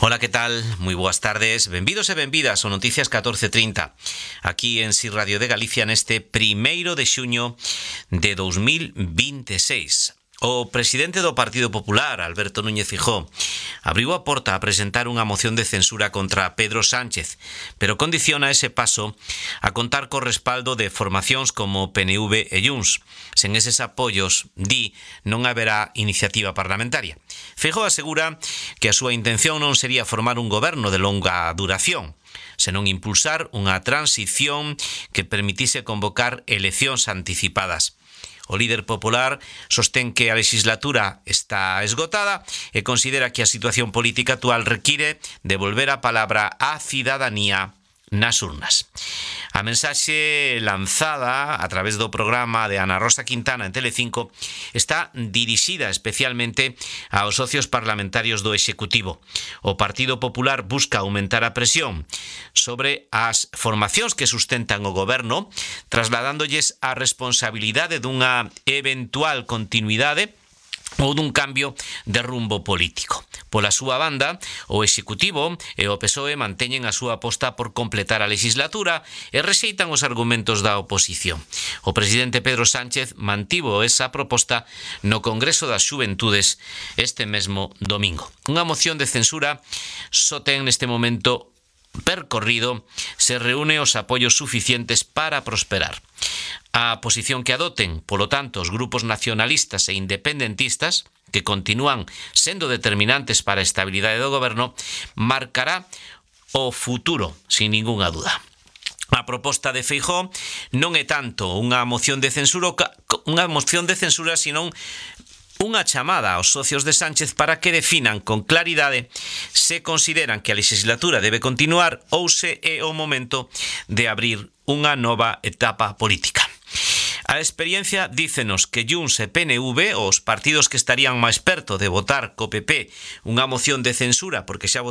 Ola, que tal? Moi boas tardes. Benvidos e benvidas ao Noticias 1430, aquí en Si Radio de Galicia neste 1º de xuño de 2026. O presidente do Partido Popular, Alberto Núñez Feijóo, abriu a porta a presentar unha moción de censura contra Pedro Sánchez, pero condiciona ese paso a contar co respaldo de formacións como PNV e Junts. Sen eses apoios, di, non haberá iniciativa parlamentaria. Feijóo asegura que a súa intención non sería formar un goberno de longa duración, senón impulsar unha transición que permitise convocar eleccións anticipadas. O líder popular sostén que a legislatura está esgotada e considera que a situación política actual require devolver a palabra á cidadanía nas urnas. A mensaxe lanzada a través do programa de Ana Rosa Quintana en Telecinco está dirixida especialmente aos socios parlamentarios do Executivo. O Partido Popular busca aumentar a presión sobre as formacións que sustentan o goberno, trasladándollles a responsabilidade dunha eventual continuidade ou dun cambio de rumbo político. Pola súa banda, o Executivo e o PSOE manteñen a súa aposta por completar a legislatura e rexeitan os argumentos da oposición. O presidente Pedro Sánchez mantivo esa proposta no Congreso das Xuventudes este mesmo domingo. Unha moción de censura só ten neste momento percorrido se reúne os apoios suficientes para prosperar. A posición que adoten, polo tanto, os grupos nacionalistas e independentistas, que continúan sendo determinantes para a estabilidade do goberno, marcará o futuro, sin ningunha duda. A proposta de Feijóo non é tanto unha moción de censura, senón unha chamada aos socios de Sánchez para que definan con claridade se consideran que a legislatura debe continuar ou se é o momento de abrir unha nova etapa política. A experiencia dícenos que Junts e PNV, os partidos que estarían máis perto de votar co PP unha moción de censura porque xa